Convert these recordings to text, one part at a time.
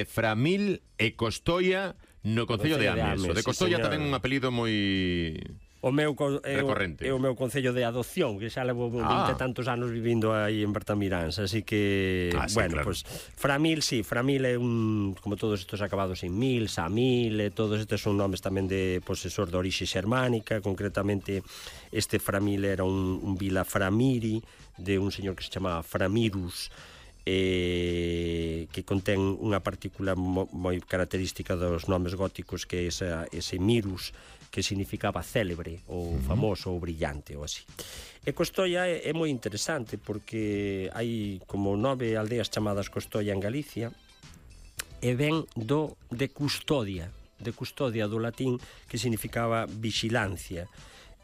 Framil e Costoia no concello de Ames. O de Costoia tamén un apelido moi recorrente. É o meu concello de adopción, que xa levo 20 e tantos anos vivindo aí en Bertamiráns, así que, sí, bueno, claro. Pues Framil, sí, Framil é un, como todos estos acabados en mil, Samil, todos estes son nomes tamén de posesor de orixe xermánica, concretamente este Framil era un vila Framiri, de un señor que se chamaba Framirus, que contén unha partícula moi característica dos nomes góticos, que é ese mirus, que significaba célebre ou famoso ou brillante ou así. E Costoia é moi interesante porque hai como 9 aldeas chamadas Costoia en Galicia e ven de custodia do latín, que significaba vixilancia.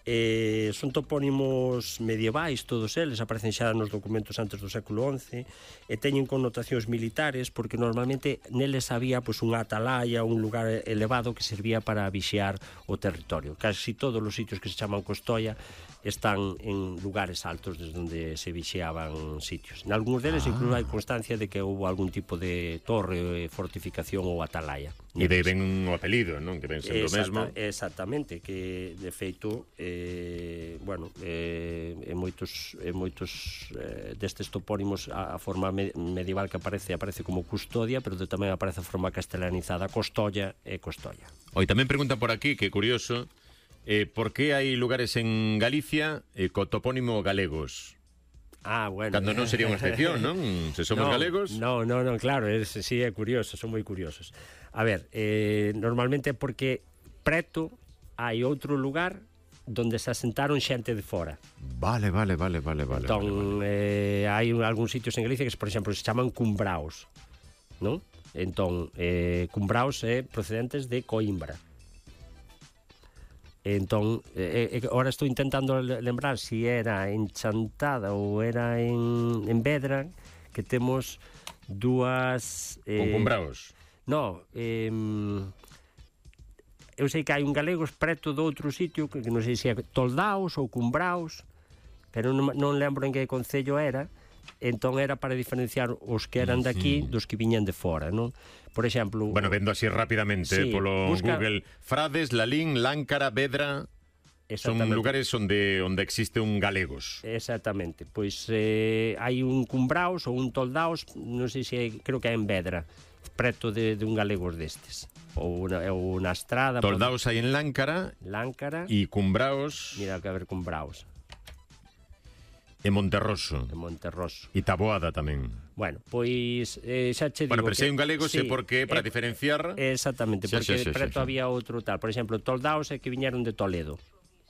Son topónimos medievais todos eles, aparecen xa nos documentos antes do século XI e teñen connotacións militares porque normalmente neles había unha atalaya, un lugar elevado que servía para vixiar o territorio. Casi todos os sitios que se chaman Costoia están en lugares altos desde onde se vixiaban sitios. En algúns deles incluso hai constancia de que houve algún tipo de torre, fortificación ou atalaya. E de ven un apelido, non? Que ven sendo o mesmo. Exactamente, que de feito en moitos destes topónimos a forma medieval que aparece como custodia, pero tamén aparece a forma castelanizada Costolla e Costoia. Oi, tamén preguntan por aquí, que curioso, por que hai lugares en Galicia co topónimo galegos? Bueno. Cando non sería unha excepción, non? Se somos galegos. No, claro, sí, é curioso, son moi curiosos. A ver, normalmente é porque preto hai outro lugar donde se asentaron xente de fora. Vale. Entón, hai algúns sitios en Galicia que, por exemplo, se chaman cumbraos, non? Entón, cumbraos é procedentes de Coimbra. Entón, ahora estou intentando lembrar se era en Chantada ou era en Vedra, que temos dúas... Con cumbraos? No, eu sei que hai un galegos preto do outro sitio, que non sei se é Toldaos ou Cumbraos, pero non lembro en que concello era. Entón era para diferenciar os que eran daqui dos que viñan de fora, non? Por exemplo... Bueno, vendo así rapidamente, polo Google, Frades, Lalín, Láncara, Vedra... Son lugares onde existe un galegos. Exactamente. Pois hai un Cumbraos ou un Toldaos, non sei se creo que é en Vedra, preto de un galegos destes. Ou na Estrada... Toldaos hai en Láncara e Cumbraos... Mira que haber Cumbraos. E Monterroso. E Taboada tamén. Bueno, pois xa che digo... Bueno, pero se hai un galego sei por qué, para diferenciar... Exactamente, porque preto había outro tal. Por exemplo, Toldaos é que viñeron de Toledo.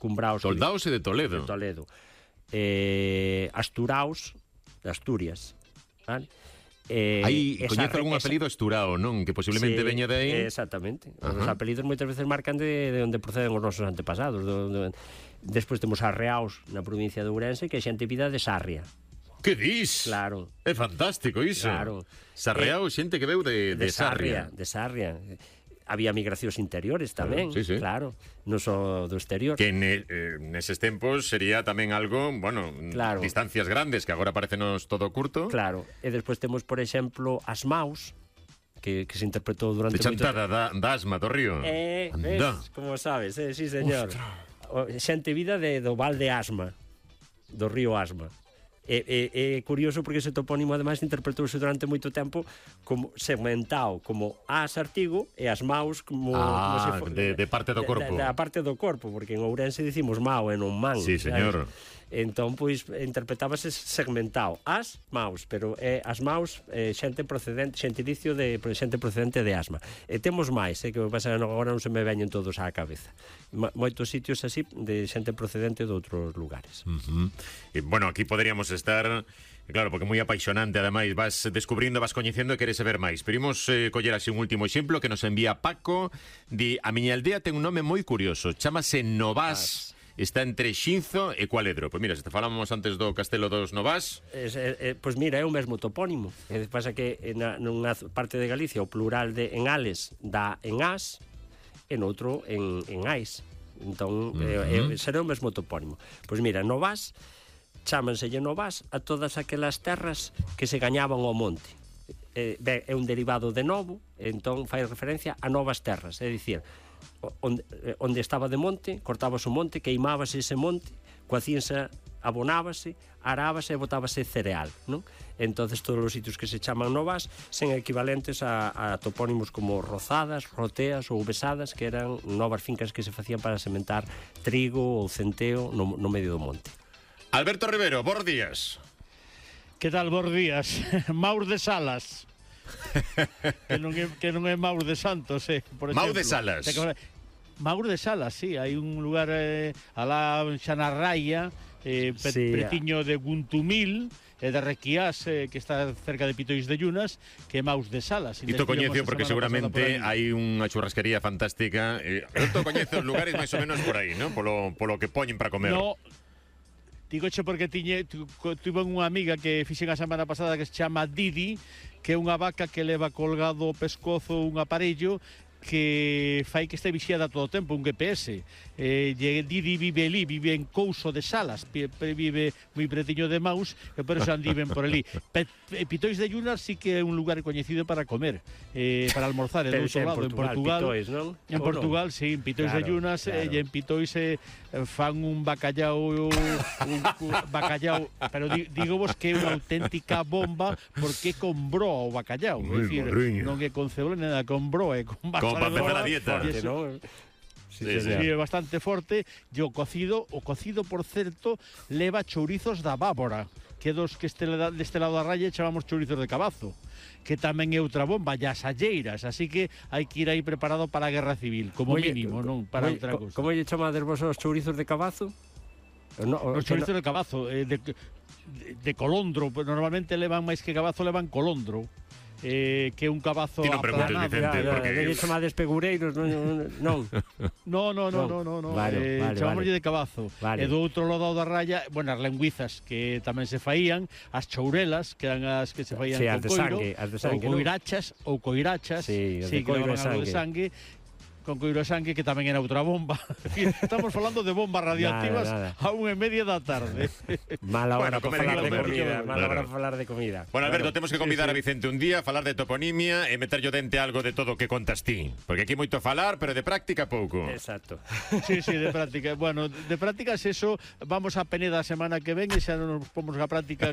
Cumbraos... Toldaos é de Toledo. Asturaos, de Asturias. Vale? Coñezo algún apelido asturao, non? Que posiblemente veña de aí. Exactamente. Os apelidos moitas veces marcan de onde proceden os nosos antepasados. Despois temos Arreaos na provincia de Ourense, que é xente vida de Sarria. Que dis? Claro. É fantástico iso. Claro. Sarreaos, xente que veu de Sarria. De Sarria. Había migracións interiores tamén, sí. Claro, non só do exterior. Que neses tempos sería tamén algo, claro, distancias grandes, que agora parecenos todo curto. Claro, e despois temos, por exemplo, as Maus, que se interpretou durante... De Chantada, da Asma, do río. Ves, como sabes, sí, señor. Xente vida do Val de Asma, do río Asma. É curioso porque ese topónimo ademais interpretouse durante moito tempo como segmentado como as artigo e as maus como se for, de parte do corpo. Da parte do corpo, porque en Ourense dicimos mau e non man. Sí, señor. Entón, pois, interpretábase segmentado as maus, pero as maus xente procedente, xentilicio de xente procedente de Asma. E temos máis, que pasa que agora non se me veñen todos á cabeza. Moitos sitios así de xente procedente de outros lugares. E, bueno, aquí poderíamos estar, claro, porque moi apaixonante, ademais, vas descubrindo, vas coñecendo e queres saber máis. Pero imos coller así un último exemplo que nos envía Paco. Di, a miña aldea ten un nome moi curioso, chamase Novás. Está entre Xinzo e Cualedro. Pois mira, se te falamos antes do Castelo dos Novás... Pois mira, é o mesmo topónimo. Pasa que nunha parte de Galicia o plural de en Ales dá en As e noutro en Ais. Entón, será o mesmo topónimo. Pois mira, Novás, chámanselle Novás a todas aquelas terras que se gañaban ao monte. é un derivado de novo, entón fai referencia a novas terras, é dicir, onde estaba de monte, cortábase o monte, queimábase ese monte, coacínse, abonábase, arábase e botábase cereal, non? Entonces todos os sitios que se chaman novas son equivalentes a topónimos como Rozadas, Roteas ou Besadas, que eran novas fincas que se facían para sementar trigo ou centeo no medio do monte. Alberto Rivero, bons días. Que tal, bons días? Maur de Salas. que non é Maur de Santos, por exemplo. Maur de Salas. Maur de Salas, sí, hai un lugar alá xa na Raya, pretiño de Guntumil e de Requiás, que está cerca de Pitois de Llunas, que é Maus de Salas. Isto coñecio porque seguramente hai unha churrasquería fantástica. Isto coñece os lugares máis ou menos por aí, non? Polo que poñen para comer. No, digoche porque tuve unha amiga que fixen a semana pasada que se chama Didi, que é unha vaca que leva colgado o pescozo un aparello que fai que este vixiada todo o tempo, un GPS. Didi vive ali, vive en Couso de Salas, vive moi pretiño de Maus, e por eso andiven por ali. Pitois de Llunas sí que é un lugar coñecido para comer, para almorzar, do outro lado, en Portugal. Pitois, non? En Portugal, sí, en Pitois de Llunas, e en Pitois fan un bacallao, bacallao, pero digo vos que é unha auténtica bomba porque é con broa o bacallao, é dicir, non é con cebola, nada, con broa, é con bacallao. Como para empezar a dieta. Sí, é bastante forte. E o cocido, por certo, leva chourizos da Bávora, que dos que deste lado da raya chamamos chourizos de cabazo, que tamén é outra bomba, e as alleiras, así que hai que ir aí preparado para a guerra civil, como mínimo, non para outra cousa. Como lle chamades vos os chourizos de cabazo? Os chourizos de cabazo, de colondro, normalmente levan máis que cabazo, levan colondro. Que é un cabazo aplanado. Porque chamades pegureiros, non. No. Chamámoslle de cabazo. E do outro lado da raya, bueno, as lenguizas que tamén se faían, as chourelas, que eran as que se faían con coiro, ou coirachas, que levaban algo de sangue, con coiro de sangue, que tamén era outra bomba. Estamos falando de bombas radioactivas a 1:30 da tarde. Mala hora para falar de comida. Mala hora para falar de comida. Bueno, Alberto, temos que convidar a Vicente un día, falar de toponimia e meterlle dente algo de todo o que contas ti. Porque aquí moito falar, pero de práctica pouco. Exacto. Sí, de práctica. Bueno, de prácticas eso, vamos a Peneda a semana que ven e xa nos pomos a práctica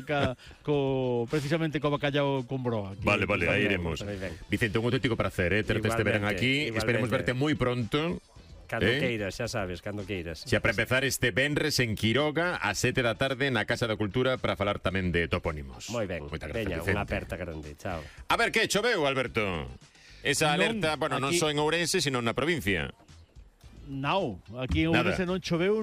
precisamente co bacallao con broa. Vale, aí iremos. Vicente, un auténtico placer, terte este verán aquí. Esperemos verte moi pronto. Cando queiras, xa sabes, cando queiras. Xa para empezar este venres en Quiroga a 7 da tarde na Casa da Cultura para falar tamén de topónimos. Moi ben. Veña, unha aperta grande. Chao. A ver, que choveu, Alberto? Esa alerta, bueno, non só en Ourense, sino na provincia. Non, aquí en Ourense non choveu,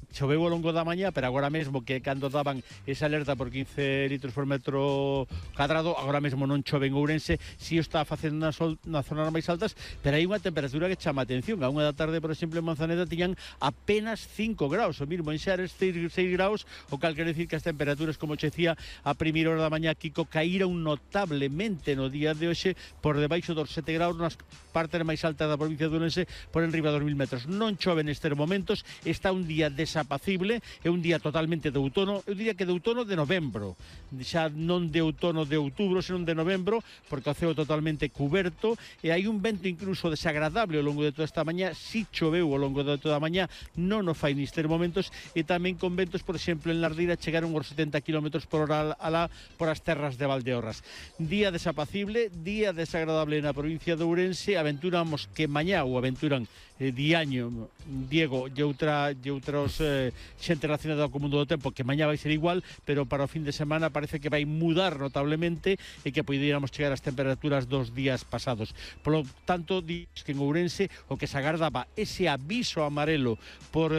choveu ao longo da mañá, pero agora mesmo que cando daban esa alerta por 15 litros por metro cadrado, agora mesmo non chove en Ourense, si o está facendo nas zonas máis altas, pero hai unha temperatura que chama a atención. A 1 da tarde, por exemplo, en Manzaneda tiñan apenas 5 graus, o mismo en Xares 6 graus, o cal quere decir que as temperaturas, como che decía, a primeira hora da mañá, Kiko, caíron notablemente no día de hoxe por debaixo dos 7 graus nas partes máis altas da provincia de Ourense, por enriba dos 1000 metros. Non chove nestes momentos, está un día desapacible, é un día totalmente de outono, eu diría que de outono de novembro, xa non de outono de outubro, senón de novembro, porque o ceo totalmente cuberto, e hai un vento incluso desagradable ao longo de toda esta mañá. Si choveu ao longo de toda a mañá, non o fai nestes momentos, e tamén con ventos, por exemplo, en Lardira chegaron aos 70 km por hora alá por as terras de Valdeorras. Día desapacible, día desagradable na provincia de Ourense. Aventuramos que mañá, ou aventuran Diaño, Diego e outros xente relacionada co mundo do tempo, que mañá vai ser igual, pero para o fin de semana parece que vai mudar notablemente e que poderíamos chegar ás temperaturas dos días pasados. Polo tanto, diz que en Ourense o que se agardaba ese aviso amarelo por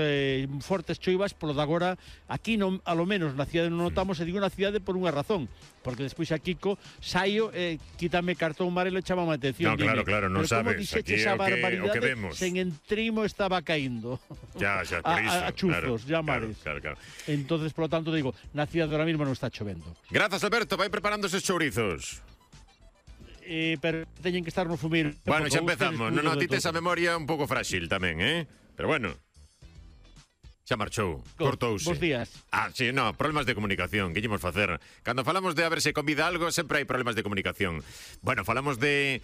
fortes choivas, polo de agora aquí non, a lo menos na cidade non notamos, e digo na cidade por unha razón, porque despois a Kiko saio, quítame cartón amarelo e chamame a atención. No, claro, non sabes, aquí é o que vemos. Sen entrimo estaba caíndo. Ya, por iso. A chuzos, ya mares. Claro. Entonces, por lo tanto, digo, na cidade ahora mismo non está chovendo. Grazas, Alberto, vai preparando eses chourizos. Pero teñen que estar no fumir. Bueno, xa empezamos. Non, ti tes a memoria un pouco frágil tamén, Pero bueno. Xa marchou, cortouse. Bos días. Sí, no, problemas de comunicación, que ímos facer? Cando falamos de a ver se convida algo, sempre hai problemas de comunicación. Bueno, falamos de